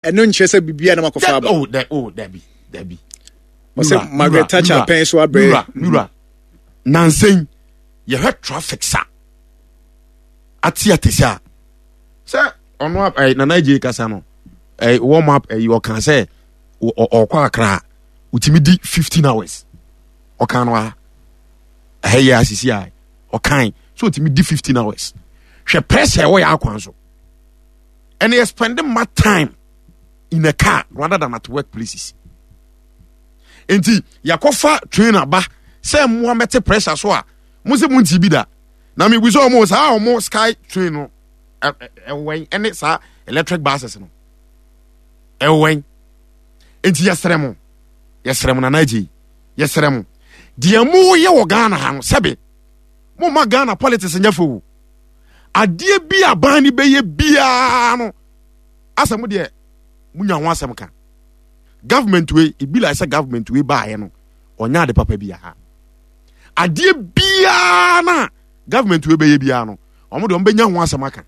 Ɛno nkyerɛ sɛ biribiara na makɔfa aba. Oh, da, oh, dabi, dabi. Ɔsɛ Margaret Thatcher pɛn so abrɛ. Mura, mura. Nansen, yɛhwɛ traffic sa. Ate ate sa. Sɛ ɔno eh, Nana Agye kasa no, eh, warm up eh, ɔka sɛ ɔkɔ akra, otumi di 15 hours. Ɔka no a, ɛhɛ yɛ asisi a, ɔkan so otumi di 15 hours. Hwɛ pressure ɛwɔ yɛ akwan so. And yɛ spending more time in a car rather than at work places. Nti yɛakɔfa train aba sɛ mmoa mɛte pressure so a mo sɛ mo nti bi da na mebu sɛ ɔmo saa ɔmo sky train no ɛwɛn ɛne saa electric buses no ɛwɛn nti yɛsrɛ mo yɛsrɛ mo nana agye yɛsrɛ mo deɛ mo yɛ wɔ Ghana ha no sɛbe mo ma Ghana politics nyɛ fɛ o adeɛ bi a ban no bɛyɛ biara no asɛ mo deɛ mo nya ho asɛm ka government wei ebi like sɛ government wei baayɛ no ɔnyɛ ade papa biara adeɛ biara na government wei bɛyɛ biara no wɔn deɛ wɔn bɛnya ho asɛm aka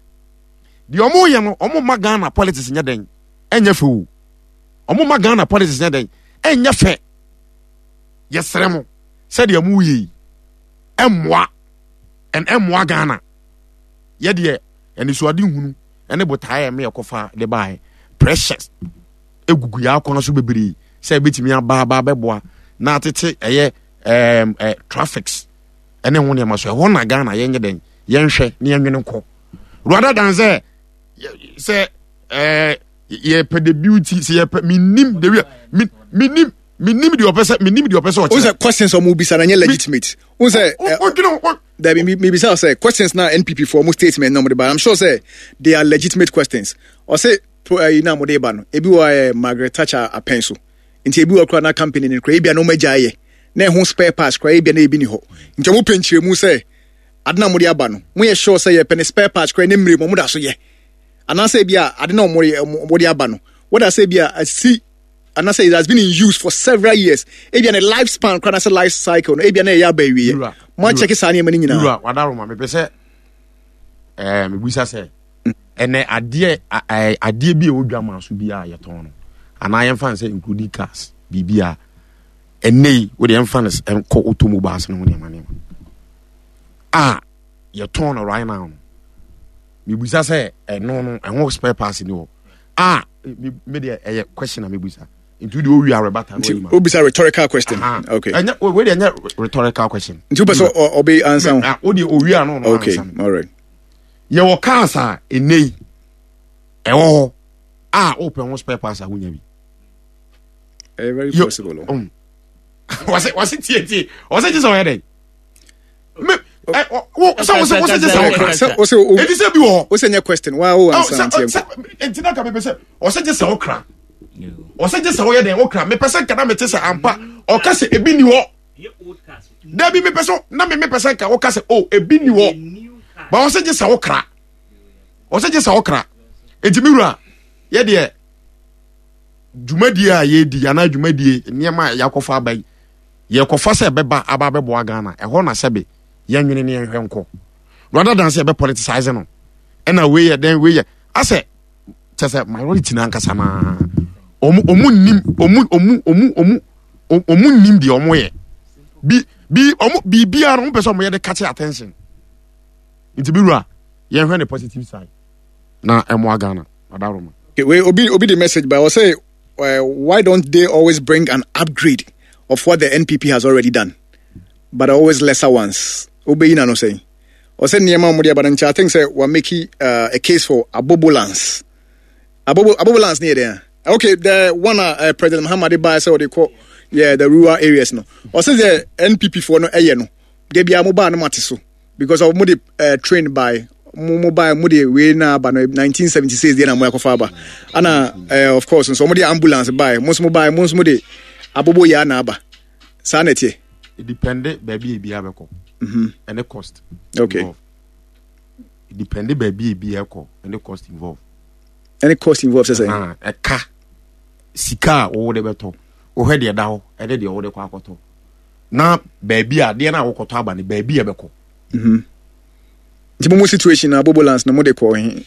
deɛ wɔn yɛ no wɔn ma Ghana politics nyɛ dɛn ɛnyɛ fɛ o wɔn ma Ghana politics nyɛ dɛn ɛnyɛ fɛ yɛsrɛ mo sɛdeɛ mo yɛ yi ɛmmoa ɛn ɛmmoa Ghana yɛ deɛ anisoade hunu ɛne botaeɛ ɛmɛ yɛkɔfa de baeɛ precious egugu yɛ akwan so bebree sɛ ebetumi aba aba abɛboa na atete ɛyɛ ɛɛm ɛ traffics ɛne ho nneɛma so ɛhɔ na Ghana yɛnyɛ dɛn yɛnhwɛ ne yɛnwene nkɔ rather than sɛ sɛ ɛɛ yɛpɛ the beauty sɛ yɛpɛ menim the way menim menim deɛ ɔpɛ sɛ menim deɛ ɔpɛ sɛ ɔkyerɛ. O sɛ questions ɔmo bisa na nyɛ legitimate. O sɛ. O dwene o. Dabi mi mi bisa sɛ questions na NPP for ɔmo statement na ɔmo de ba I'm sure sɛ they are legitimate questions. Ɔsɛ pro ɛyi na ɔmo de ba no ebi wɔ ɛɛ Margaret Thatcher apɛn so nti ebi wɔ kora na company no kora ebi a na ɔmo agya ayɛ na ɛho spare parts kora ebi a na ebi ni hɔ nti ɔmo pɛ nkyerɛmu sɛ ade na ɔmo de aba no mo yɛ sure sɛ yɛpɛ ne spare parts kora ne mmiri mu ɔmo da so yɛ anaasɛ ebi a ade na ɔmo de aba no wɔda sɛ ebi a asi anaasɛ it has been in use for several years ebia ne life span koraa anaasɛ life cycle no ebia na ɛyɛ aba awieɛ mo akyɛke saa nneɛma no nyinaa. Wura wadaroma mepɛ sɛ ɛɛ mebisa sɛ ɛnɛ adeɛ ɛɛ adeɛ bi a ɛwɔ dwa maa so bi a yɛtɔn no anaa yɛmfa no sɛ including cars biribi a ɛnɛ yi wode yɛmfa no nkɔ automobiles no ho nneɛma nneɛma a yɛtɔn no right now no mebisa sɛ ɛno no ɛho spare parts ni hɔ a me deɛ ɛyɛ question na mebisa nti wode owie arebata nti wobisa rhetorical question okay ɛnyɛ wei deɛ ɛnyɛ rhetorical question nti wopɛ sɛ ɔbɛ ansa ho ah, wode owie ano no okay all right yɛwɔ cars a ɛnɛ yi ɛwɔ hɔ a wopɛ ho spare parts a wonya bi ɛyɛ very possible wɔse wɔse tie tie wɔse gye sɛ ɔyɛ dɛn me ɛ wo sɛ wo sɛ wo sɛ gye sɛ wokra sɛ wo sɛ o eti sɛ bi wɔ hɔ wo sɛ nyɛ question wa wo ansa nti ɛnkɔ eti na ka mepɛ sɛ ɔsɛ gye sɛ wokra ɔsɛ gye sɛ woyɛ dɛn wokra mepɛ sɛ nka na mete sɛ ampa ɔka sɛ ebi ni hɔ dabi mepɛ sɛ na me mepɛ sɛ nka woka sɛ o ebi ni hɔ ba ɔsɛ gye sɛ wokra ɔsɛ gye sɛ wokra eti mi wura yɛ deɛ dwumadie a yɛredi anaa dwumadie nneɛma a yɛakɔfa aba yi yɛkɔfa sɛ ɛbɛba aba abɛboa Ghana ɛhɔ na sɛbe yɛnwene ne yɛnhwɛ nkɔ rather than sɛ yɛbɛ politicize no ɛna wei yɛ dɛn wei yɛ asɛ kyɛ sɛ minority no ankasa naa ɔmo ɔmo nim ɔmo ɔmo ɔmo ɔmo ɔmo nim deɛ ɔmo yɛ bi bi ɔmo biribiara no ɔmo pɛ sɛ ɔmo yɛ de catch attention nti bi wura yɛnhwɛ ne positive side na ɛmoa Ghana adaroma. Okay, wei obi obi de message ba ɔsɛ uh, why don't they always bring an upgrade of what the NPP has already done, but always lesser ones? Obeyi na no sɛn. Ɔsɛ nneɛma a wɔde aba no nkyɛn I think sɛ wa make uh, a case for abobolance. Abobo abobolance ne yɛ dɛn a? Okay, the one uh, uh, President Mahama de baa sɛ ɔde kɔ yeah the rural areas no. Ɔsɛ sɛ NPP foɔ no ɛyɛ no. De bia mo baa no mate so. because of mo de uh, train by mo mo ba mo de wei na aba no 1976 deɛ na mo akɔfa aba ana uh, of course nso mo de ambulance bae mo nso mo bae mo nso mo de abobo yɛ na aba saa na ɛteɛ. Depende baabi ebi abɛkɔ mhm. ɛne cost. Okay. Involved. Depende baabi ebi ɛkɔ ɛne cost involved. Ɛne cost involved sɛ sɛ. Ɛka sika a wɔwɔ de bɛtɔ wɔhwɛ deɛ ɛda hɔ ɛne deɛ wɔde kɔ akɔtɔ. na baabi a adeɛ no a wokɔtɔ aba no baabi a ɛbɛkɔ. Mhm. Nti mo mo situation na abobolance no mo de kɔ he?